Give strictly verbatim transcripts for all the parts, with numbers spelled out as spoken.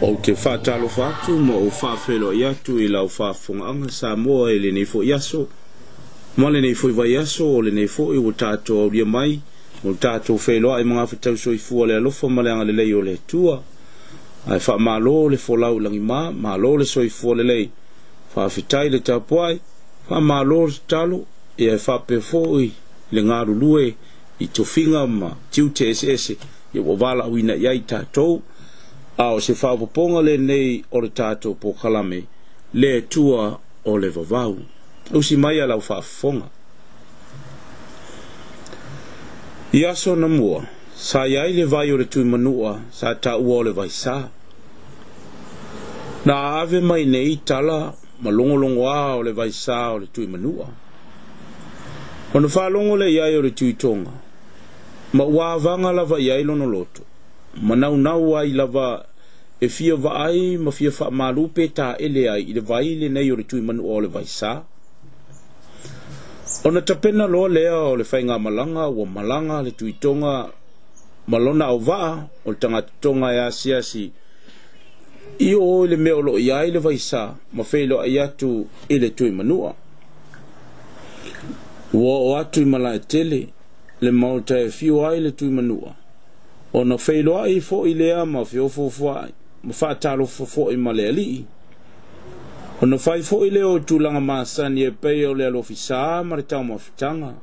Ou te faatalofa atu ma ou faafeiloai atu i lau faafofogaaga Samoa i lenei foi aso ma lenei foi vaiaso o lenei foi ua tatou aulia mai mo le tatou feiloai magafetausoifua le alofa ma le agalelei o le Atua. Ae faamalo le folau i lagima, malo le soifua lelei, faafetai le tapuai, faamalo le tatalo, ia e faapea foi le galulue i tofiga ma tiute eseese ia ua valaauina i ai tatou. A o se faaopoopoga lenei o le tatou polokalame le Atua o le Vavau. Usi mai a lau faafofoga. I aso na mua, sa i ai le vai o le Tuimanua, sa taua o le vaisā. Na ave mai nei tala ma logologoa o le vaisā o le Tuimanua. Ona faalogo le i ai o le Tuitoga, ma ua avaga lava i ai lona loto, ma naunau ai lava e fia vaai ma fia faamalu pe taele ai i le vai lenei o le Tuimanua o le vaisā. Ona tapena loa lea o le faigamalaga ua malaga le Tuitoga ma lona auvaa o le tagata Toga e asiasi i o i le mea o lo o i ai le vaisā ma feiloai atu i le Tuimanua. Ua oo atu i Malaetele le maota e afio ai le Tuimanua, ona feiloai foi lea ma feofoofoai ma faatalofa foi ma le alii. Ona fai foi lea o tulaga masani e pei o le alofisā ma le taumafataga.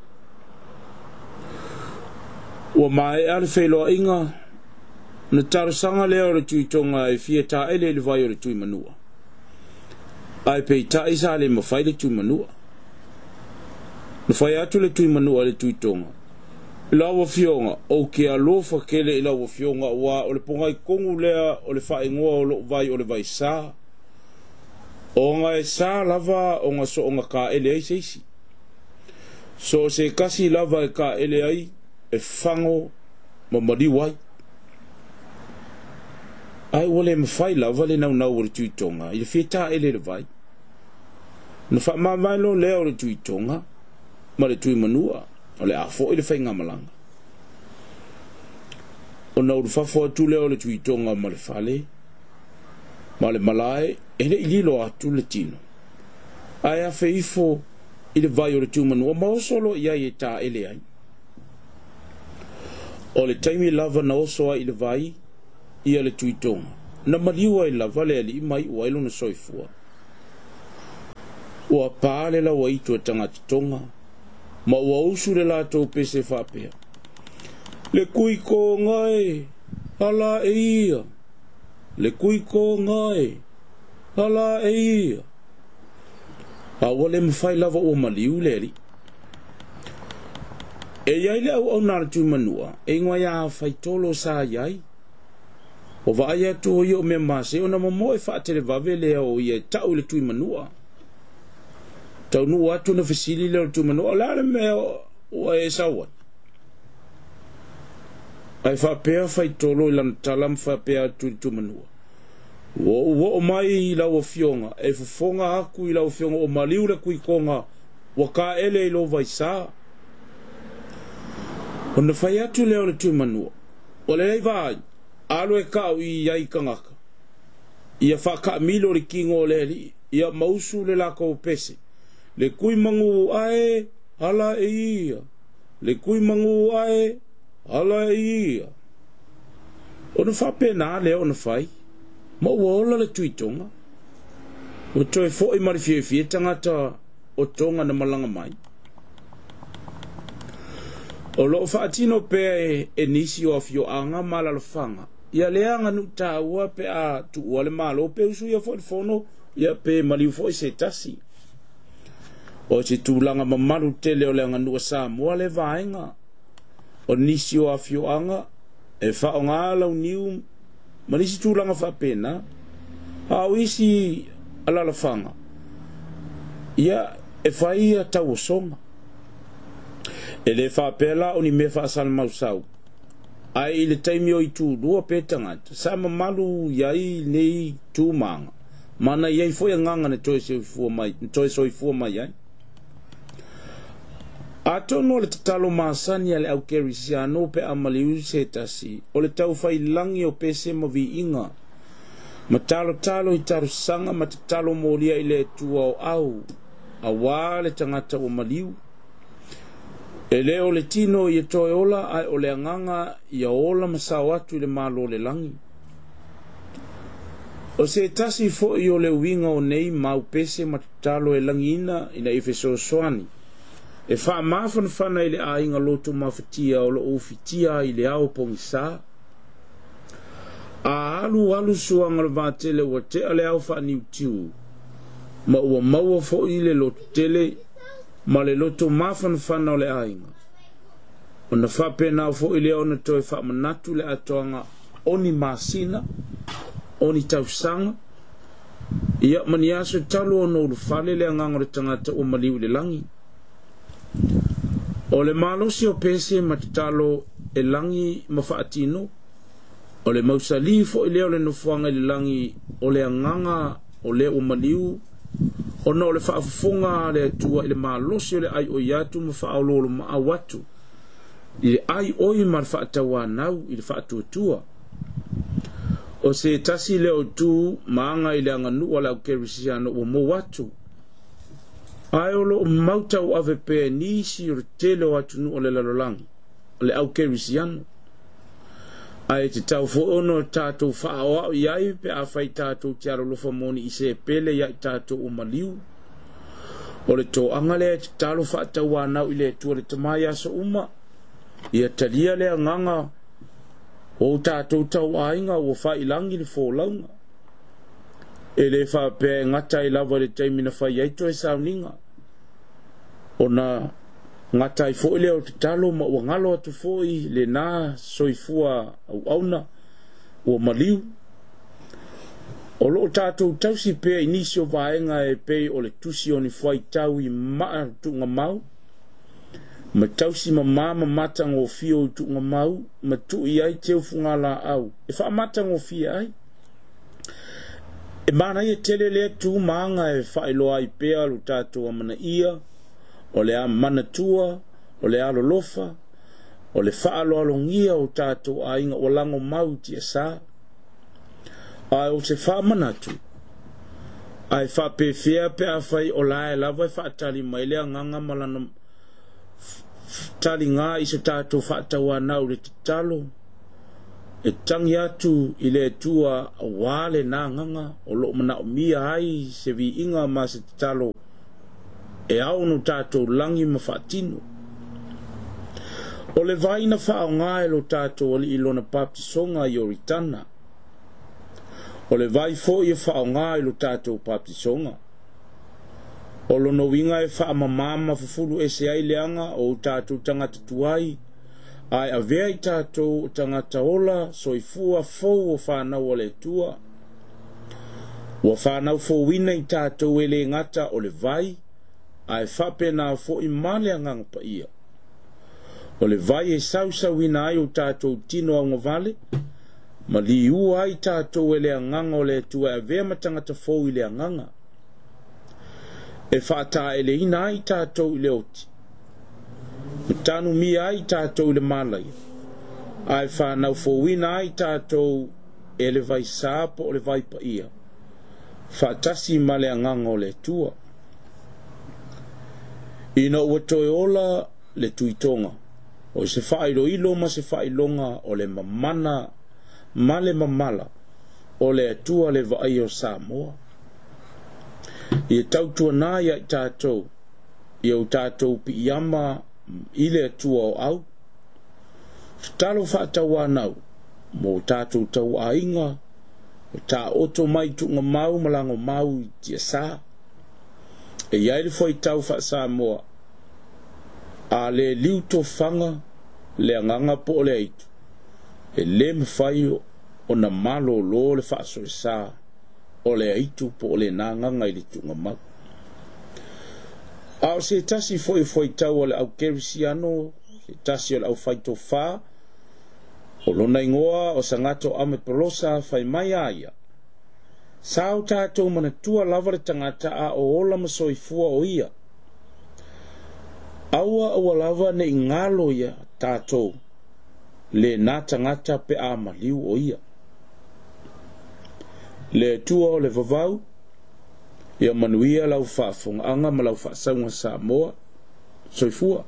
Ua maea le feiloaiga, na talosaga lea o le Tuitoga e fia taele i le vai o le Tuimanua. Ae peitai sa le mafai le Tuimanua. Na fai atu le Tuimanua i le Tuitoga, lau afioga, ou te alofa tele i lau afioga ua o le pogaikogu lea o le faaigoa o lou vai o le vaisā. Ona e sa lava ona soonga kaele ai se isi. So se kasi lava e kaele ai, e fago ma maliu ai. Ae ua le mafai lava le naunau o le Tuitoga i le fia taele i le vai. Na faamavae loa lea o le Tuitoga ma le Tuimanua o le a foi le faigamalaga. Ona ulufafo atu lea o le Tuitoga ma le fale ma le malae e le i lilo atu le tino. Ae afe ifo i le vai o le Tuimanua ma oso loa i ai e taele ai. O le taimi lava na oso ai i le vai ia le Tuitoga, na maliu ai lava le alii ma iu ai lona soifua. Ua pa le lauaitu a tagata Toga, ma ua usu le latou pese faapea. Le Kuikoga e, ala e ia. Le Kuikoga e, ala e ia. A ua le mafai lava ua maliu le alii. E i ai le auauna a le Tuimanua, e igoa ia Faitolo sa i ai. Ua vaai atu o ia o mea mase ona momoe faatelevave lea o ia e tau i le Tuimanua. Taunuu atu na fesili lea o le Tuimanua, o le a le mea ua e sau ai? Ae faapea Faitolo i lana tala ma faapea atu i le Tuimanua. Ua ou oo mai i lau afioga, e fofoga atu i lau afioga o maliu le Kuikoga ua kaele i lou vaisā. Ona fai atu lea o le Tuimanua, o lelei vaai, alu e kau i ai tagata. Ia faakaamilo le tino o le alii, ia mausu le latou pese. Le kui magu ae, ala e ia. Le kui magu ae, ala e ia. Ona faapena lea ona fai, ma ua ola le Tuitoga. Ua toe foi ma le fiafia tagata o Toga na malaga mai. O loo faatino pea e, e nisi o afioaga ma alaalafaga ia le aganuu taua pe a tuua le malo pe usuia foi le fono ia pe maliu foi se tasi. O se tulaga mamalu tele o le aganuu a Samoa le vaega. O nisi o afioaga e faaaoga launiu ma nisi tulaga faapena. A o isi alaalafaga ia e fai ia tauosoga. E le faapea la o ni mea faasalamausau. Ae i le taimi o itulua pe tagata, sa mamalu i ai nei tumaga, ma na i ai foi agaga na toe soifua mai, na toe soifua mai ai. Atonu o le tatalo masani a le au kerisiano pe a maliu se tasi, o le taufailangi o pese ma viiga, ma talotalo i talosaga ma tatalo molia i le Atua o au, auā le tagata ua maliu. E lē o le tino ia toe ola ae o le agaga ia ola ma sao atu i le malo o le lagi. O se tasi foʻi o le uiga o nei mau pese ma tatalo e lagiina ina ia fesoasoani e faamafanafana i le aiga loto mafatia o loo ufitia ai i le ao pogisā. A alu alu suaga o le vatele ua tea le ao faaniutiu ma ua maua foʻi le lototele ma le loto mafanafana o le aiga. Ona faapenā foʻi lea ona toe faamanatu le atoaga o ni masina, o ni tausaga, ia ma ni aso talu ona ulufale le agaga o le tagata ua maliu i le lagi. O le malosi o pese ma tatalo e lagi ma faatino, o le mausalī foʻi lea o le nofoaga i le lagi o le agaga o le ua maliu, ona o le faafofoga a le Atua i le malosi o le aioi atu ma faaoloolomaau atu i le aioi ma le faatauanau i le faatuatua. O se tasi lea o tu ma aga i le aganuu a le au kerisiano ua mou atu, ae o loo mau tauave pea e nisi o le tele o atunuu o le lalolagi o le au kerisiano. Ae tatau foʻi ona tatou faaoao i ai pe afai tatou te alolofa moni i se pele ia i tatou ua maliu. O le toaga lea e tatalo faatauanau i le Atua le Tama i aso uma, ia talia le agaga o tatou tauaiga ua failagi le folauga. E lē faapea e gata ai lava i le taimi na fai ai toe sauniga, ona gata ai foʻi lea o tatalo ma ua galo atu foʻi lenā soifua auauna ua maliu. O loo tatou tausi pea i nisi o vaega e pei o le tusi o ni fuaitau i maa tuugamau, ma tausi mamā ma matagofie o i tuugamau, ma tuu ai teufugalaau e faamatagofie ai. E manaia tele lea tu ma aga e faailoa ai pea lo tatou amanaia, o le amanatua, o le alolofa, o le faaloalogia o tatou aiga ua lago mau i tiasā. Ae o se faamanatu, ae faapefea pe afai o lae lava e faatali mai le agaga ma lana taligā i se tatou faatauanau i le tatalo, e tagi atu i le Atua auā lenā agaga o loo manaomia ai se viiga ma se tatalo e ao ona tatou lagi ma faatino. O le vai na faaaogā e lo tatou alii lona baptisoga i Ioritana, o le vai foʻi e faaaogā i lo tatou baptisoga. O lona uiga e faamamā ma fufulu ese ai leaga o tatou tagata tuai, ae avea i tatou o tagata ola soifua fou o fanau a le Atua. Ua fanau fouina i tatou e lē gata o le vai, ae faapenā foʻi ma le agaga paia. O le vai e sausauina ai o tatou tino augavale, ma liua ai tatou e le agaga o le Atua e avea ma tagata fou i le agaga. E faataeleina ai tatou i le oti, ma tanumia ai tatou i le malaia, ae whanau ai tatou e le vaisā po o le vaipaia, faatasi ma le agaga o le Atua. Ina ua toe ola le tuitoga, o se faailoilo ma se faailoga o le mamana ma le mamala o le Atua le vaai o Samoa. Ia tautuanā ia i tatou, ia o tatou piiama i le Atua o au. Tatalo faatauanau mo tatou tauaiga, o taoto mai tuugamau ma lagomau i tiasā. E iai le fuaitau faa-Samoa, a le liu tofaga le agaga po o le aitu, e lē mafai ona malōlō le faasoesā o le aitu po o lenā agaga i le tuugamau. A o se tasi foʻi fuaitau o le au kerisiano, se tasi o le aufaitofā, o lona igoa o Sagato Ame Polosa, fai mai a ia, sa o tatou manatua lava le tagata a o ola ma soifua o ia. Aua aua lava nei galo ia tatou lenā tagata pe a maliu o ia. Le Atua o le vavau, ia manuia lau faafofogaaga ma lau faasauga Samoa. Soifua.